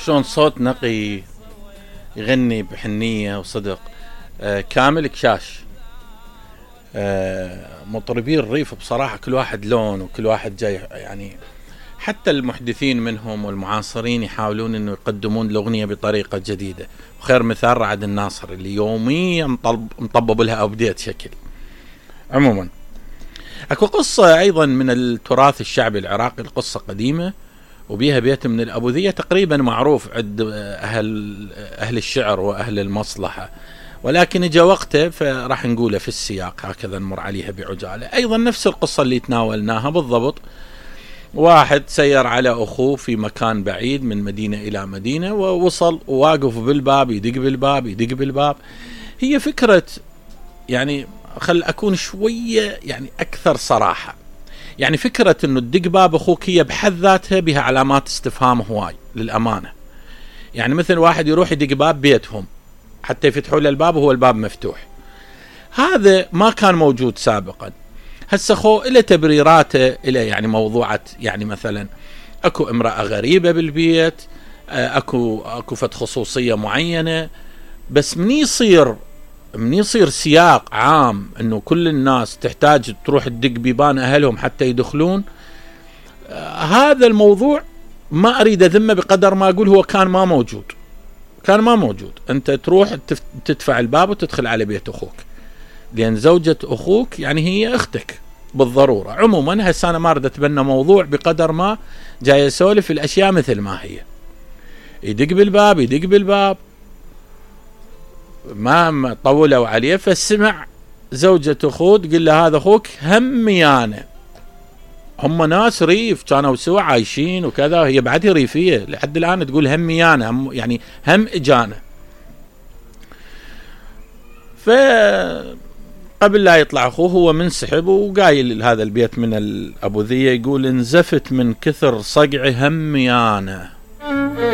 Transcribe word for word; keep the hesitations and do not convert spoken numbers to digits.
شلون صوت نقي يغني بحنية وصدق. آه كامل كشاش. آه مطربين الريف بصراحة كل واحد لون وكل واحد جاي، يعني حتى المحدثين منهم والمعاصرين يحاولون انه يقدمون الاغنية بطريقة جديدة. وخير مثال رعد الناصر اللي يوميا مطبب لها ابديت شكل. عموما اكو قصة ايضا من التراث الشعبي العراقي، القصة قديمة وبيها بيت من الأبوذية تقريبا معروف عند أهل أهل الشعر وأهل المصلحة، ولكن جاء وقته فراح نقوله في السياق هكذا نمر عليها بعجالة. أيضا نفس القصة اللي تناولناها بالضبط. واحد سير على أخوه في مكان بعيد من مدينة إلى مدينة، ووصل وواقف بالباب يدق بالباب يدق بالباب. هي فكرة، يعني خل أكون شوية يعني أكثر صراحة، يعني فكرة انه تدق باب اخوك هي بحد ذاتها بها علامات استفهام هواي للامانة. يعني مثل واحد يروح يدق باب بيتهم حتى يفتحوا له الباب وهو الباب مفتوح، هذا ما كان موجود سابقا. هسه خو إلى تبريراته، إلى يعني موضوعات، يعني مثلا اكو امرأة غريبة بالبيت، اكو اكو فت خصوصية معينة، بس من يصير من يصير سياق عام انه كل الناس تحتاج تروح تدق بيبان اهلهم حتى يدخلون، آه هذا الموضوع ما اريد اذمه بقدر ما اقول هو كان ما موجود. كان ما موجود انت تروح تدفع الباب وتدخل على بيت اخوك، لان زوجة اخوك يعني هي اختك بالضرورة. عموما هسه انا ما اريد اتبنى موضوع بقدر ما جاي اسولف الاشياء مثل ما هي. يدق بالباب يدق بالباب ما طولوا عليه، فسمع زوجة أخوه تقول له هذا أخوك هميانة. هم ناس ريف كانوا سوا عايشين وكذا، هي بعدها ريفية لحد الآن تقول هميانة، هم يعني هم إجانة. فقبل لا يطلع أخوه هو منسحب وقايل هذا البيت من الأبوذية، يقول انزفت من كثر صقع هميانة.